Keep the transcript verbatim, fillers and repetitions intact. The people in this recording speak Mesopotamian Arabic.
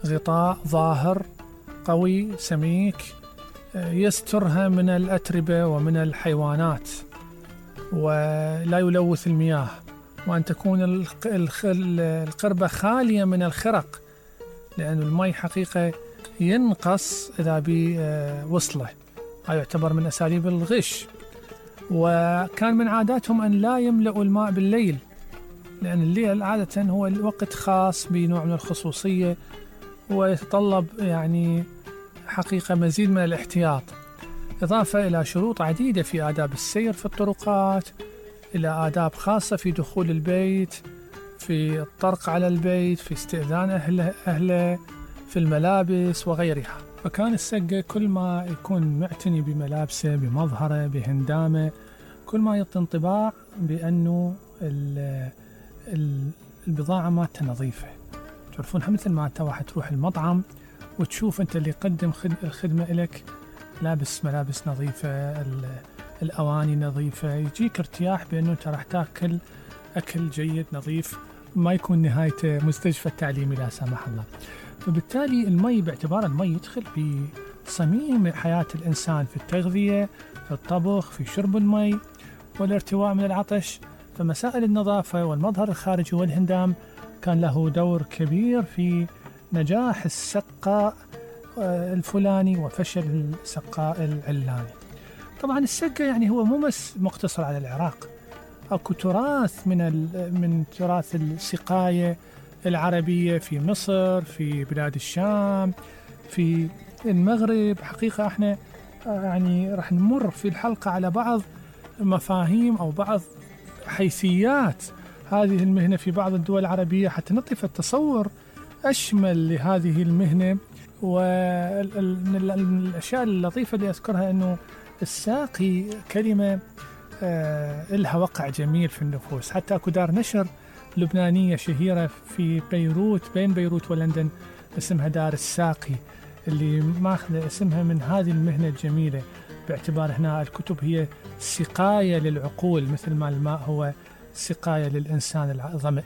غطاء ظاهر قوي سميك يسترها من الأتربة ومن الحيوانات ولا يلوث المياه، وأن تكون القربة خالية من الخرق، لأن المي حقيقة ينقص إذا بوصله، هذا يعتبر من أساليب الغش. وكان من عاداتهم أن لا يملأوا الماء بالليل، لأن الليل عادة هو الوقت خاص بنوع من الخصوصية ويتطلب يعني حقيقة مزيد من الاحتياط، إضافة إلى شروط عديدة في آداب السير في الطرقات، إلى آداب خاصة في دخول البيت، في الطرق على البيت، في استئذان أهله, أهله في الملابس وغيرها. فكان السقة كل ما يكون معتني بملابسه بمظهره بهندامه كل ما يعطي انطباع بأنه البضاعة مالته نظيفة. تعرفونها مثل ما أنت واحد تروح المطعم وتشوف أنت اللي يقدم الخدمة إليك لابس ملابس نظيفة، الأواني نظيفة، يجيك ارتياح بأنه أنت راح تأكل أكل جيد نظيف، ما يكون نهايته مستشفى التعليمي لا سمح الله. فبالتالي المي باعتبار المي يدخل في صميم حياة الإنسان في التغذية، في الطبخ، في شرب المي والارتواء من العطش، فمسائل النظافة والمظهر الخارجي والهندام كان له دور كبير في نجاح السقاء الفلاني وفشل السقاء العلاني. طبعا السقة يعني هو مو بس مقتصر على العراق، أكو تراث من من تراث السقاية العربية في مصر، في بلاد الشام، في المغرب. حقيقة احنا يعني راح نمر في الحلقة على بعض مفاهيم أو بعض حيثيات هذه المهنة في بعض الدول العربية حتى نعطي التصور أشمل لهذه المهنة. ومن الأشياء اللطيفة اللي أذكرها أنه الساقي كلمة آه لها وقع جميل في النفوس. حتى أكو دار نشر لبنانية شهيرة في بيروت بين بيروت ولندن اسمها دار الساقي، اللي ماخذة اسمها من هذه المهنة الجميلة، باعتبار هنا الكتب هي سقاية للعقول مثل ما الماء هو سقاية للإنسان الظمأ.